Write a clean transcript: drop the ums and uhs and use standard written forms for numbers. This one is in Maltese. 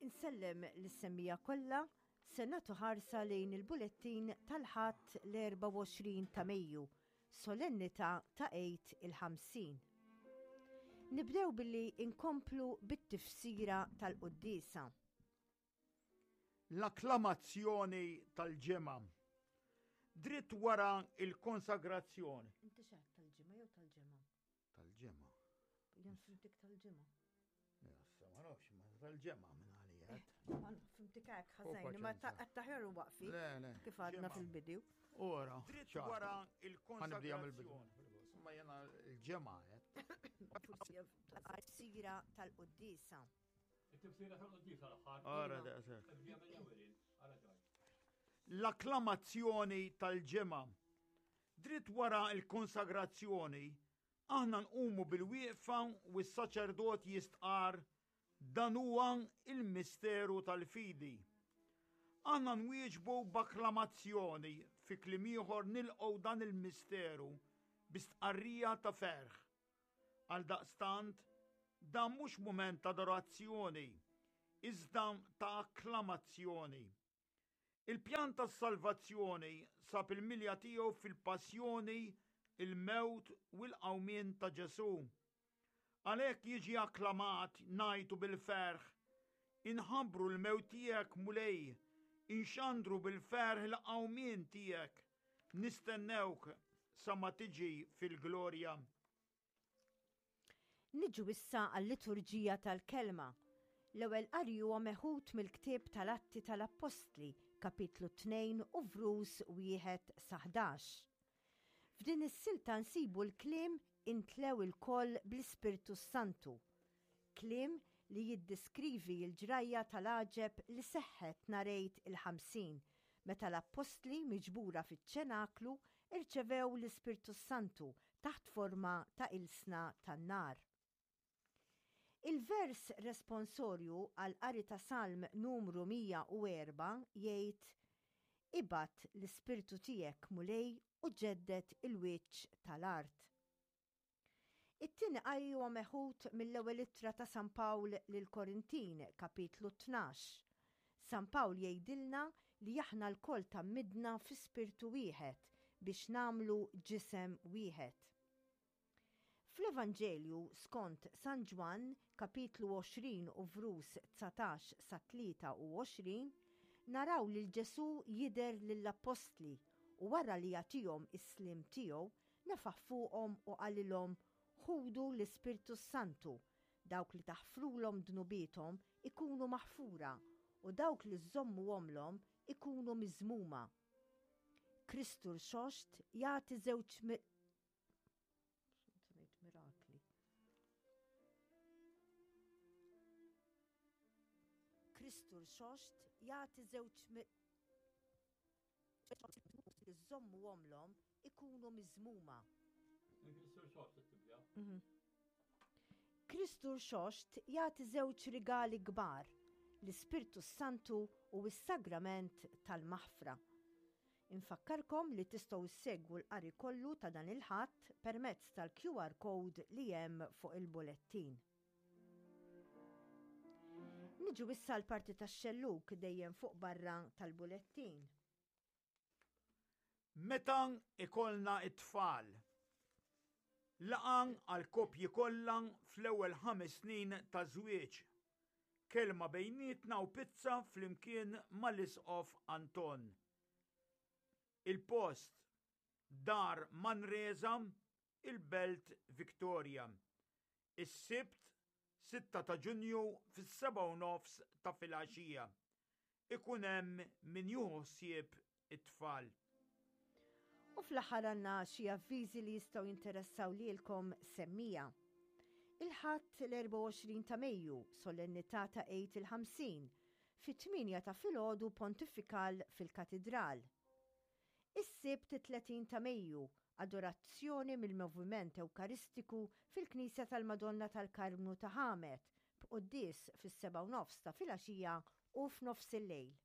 Insellem lis-semmiegħa kollha, se nagħtu ħarsa lejn il-bulettin tal-Ħadd l-24 ta' Mejju, solennità ta' Għid il-Ħamsin. Nibdew billi nkomplu bit-tifsira tal-quddiesa. L-akklamazzjoni tal-ġemgħa. Dritt wara l-konsagrazzjoni. Inti x'għedt tal-ġimgħa jew tal-ġemgħa? Tal-ġemgħa. Jien fimtik tal-ġimgħa. Issa ma nafx ma tal-ġemgħa minn għalija. Eh, ma fimtik hekk ħażin, ma taħjar u waqfi. Kif għadna fil-bidu. Ora, dritt wara il-konsagrazzjoni. Ma jena l-ġemgħa qed. Sira tal-quddisa. It-tifsira tal-quddisa l-aħħar. Ora, daqshekk. L-akklamazzjoni tal-ġemgħa. Dritt wara l-konsagrazzjoni, aħna nqumu bil-wieqfa u s-saċerdot jistqarr, Dan huwa l-misteru tal-fidi. Aħna nwieġbu b'akklamazzjoni, fi kliem ieħor nilqgħu dan il-misteru bi stqarrija ta' ferħ. Għaldaqstant, dan mhux mument ta' adorazzjoni, iżda ta' akklamazzjoni. Il-pjan tas-salvazzjoni sab il-milja tiegħu fil-passjoni, il-mewt u l-qawmien ta' Ġesù. Għalhekk jiġi akklamat, ngħajtu bil-ferħ, Inħabbru l-mewt tiegħek, Mulej, inxandru bil-ferħ il-qawmien tiegħek, nistennewk sa ma tiġi fil-glorja. Niġu issa għal-liturġija tal-Kelma. L-ewwel qari huwa meħud mill-ktieb tal-Atti tal-Appostli, kapitlu 2 u vrus 1 sa 11. F'din is-silta nsibu l-kliem intlew ilkoll bl-Ispirtu s-Santu. Kliem li jiddiskrivi l-ġrajja tal-għaġeb li seħħet nhar Għid il-Ħamsin, meta l-appostli miġbura fiċ-ċenaklu rċevew l-Ispirtu s-Santu taħt forma ta' ilsna tan-nar. Il-vers responsorju għall-qari ta' Salm numru 104 jgħid, Ibgħat l-Ispirtu tiegħek, Mulej, u ġedded il-wiċċ tal-art. It-tieni qari huwa meħud mill-ewwel ittra ta' San Pawl lill-Korintin, kapitlu 12. San Pawl jgħidilna li aħna lkoll tgħammidna fi spirtu wieħed biex nagħmlu ġisem wieħed. Fl-Evanġelju skont San Ġwann, kapitlu 20 u vrus 19 sa 23, naraw lil Ġesù jidher lill-appostli u wara li jagħtihom is-sliem tiegħu, Nefaħ fuqhom u qalilhom, Ħudu l-Ispirtu s-Santu, dawk li taħfrulhom dnubiethom ikunu maħfura, u dawk li żżommuhomlhom ikunu miżmuma. Kristu Rxoxt jagħti żewġ mirakli. Kristu Rxoxt jagħti żewġ li żżommuhomlhom ikunu miżmuma. Mhm. Kristu Rxoxt jagħti żewġ rigali kbar, l-Ispirtu s-Santu u s-Sagrament tal-Maħfra. Infakkarkom li tistgħu ssegwu l-qari kollu ta' dan il-Ħadd permezz tal-QR code li hemm fuq il-bulettin. Niġu issa l-parti tax-xellug dejjem fuq barra tal-bulettin. Meta ikollna t-tfal. Laqgħa għall-koppji kollha fl-ewwel ħames snin ta' żwieġ. Kelma bejnietna u pizza flimkien mal-Isqof Anton. Il-post, Dar Manresa, il-Belt Victoria. Is-Sibt, 6 ta' Ġunju fis-sebgħa u nofs ta' filgħaxija. Ikun hemm min jieħu ħsieb it-tfal. U fl-aħħar għandna xi avviżi li jistgħu jinteressaw lilkom semmija. Il-Ħadd l-24 ta' Mejju, solennità ta' Għid il-Ħamsin, fit-tmienja ta' filgħodu pontifikal fil-Katidral. Is-Sibt it-30 ta' Mejju, adorazzjoni mill-Moviment Ewkaristiku fil-Knisja tal-Madonna tal-Karmnu ta' Ħamet, b'quddies fis-sebgħa u nofs ta' filgħaxija u f'nofsillejl.